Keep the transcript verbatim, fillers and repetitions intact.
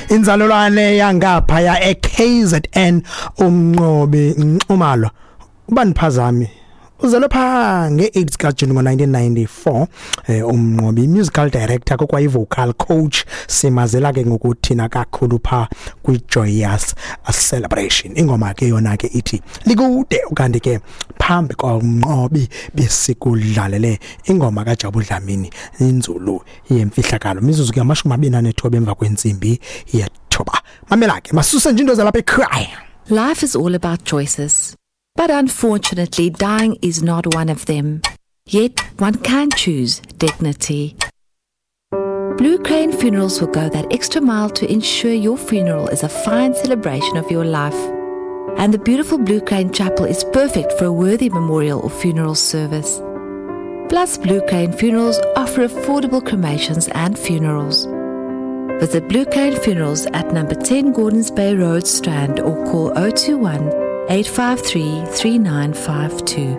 Inzalelwane yangaphaya e K Z N, uMnqobi Nxumalo, ubaniphazami, uzelwe pha nge-eight kaJuni ngo-nineteen ninety-four. eh uMnqobi musical director kokwayi vocal coach, simazela ke ngokuthina kakhulu pha kwi-Joyous Celebration. Ingoma ke yona ke ithi Likude. Ukanti ke phambi kwaMnqobi besikudlalele ingoma kaJabu Dlamini, Inzulu Yemfihlakalo. Mizuzu ke amashumi amabini anethoba emva kwentsimbi yethoba. Mamela ke, masuse nje into zalapha ekhaya. Life is all about choices. But unfortunately, dying is not one of them. Yet, one can choose dignity. Blue Crane Funerals will go that extra mile to ensure your funeral is a fine celebration of your life. And the beautiful Blue Crane Chapel is perfect for a worthy memorial or funeral service. Plus, Blue Crane Funerals offer affordable cremations and funerals. Visit Blue Crane Funerals at number ten Gordons Bay Road, Strand, or call oh two one, eight five three, three nine five two.